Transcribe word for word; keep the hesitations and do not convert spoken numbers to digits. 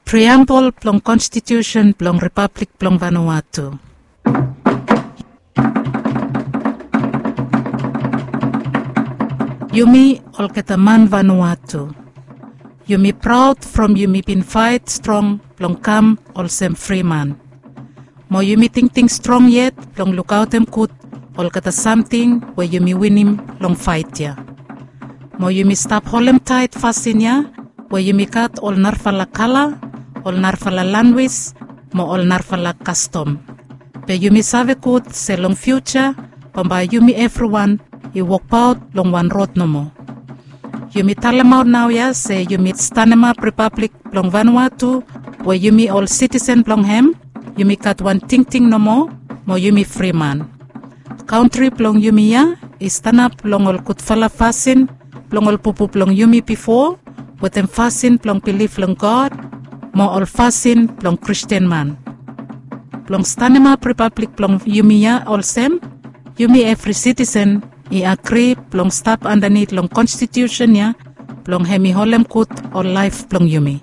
Priambol blong konstitiusen blong ripablik blong Vanuatu. Yumi olgeta man Vanuatu, yumi praod from yumi bin faet strong blong kam olsem fri man. Mo yumi tingting strong yet blong lukaotem gud olgeta samting we yumi winim long faet ya. Mo yumi stap holemtaet fasin ya we yumi gat ol narafala kala, ol narafala lanwis, mo ol narafala kastom. Be yumi save gud se long fiuja bambae yumi evriwan i wokbaot long wan rod nomo. Yumi talemaot naoia se yumi stanemap ripablik blong Vanuatu we yumi ol sitisen blong hem, yumi gat wan tingting nomo, mo yumi fri man. Kantri blong yumi ya i stanap long ol gudfala fasin blong ol bubu blong yumi bifo, wetem fasin blong bilif long God mo ol fasin blong Kristin man. Blong stanemap ripablik blong yumi ya olsem, yumi evri sitisen i agri blong stap andanit long konstitiusen ya blong hem i holem gud ol laef blong yumi.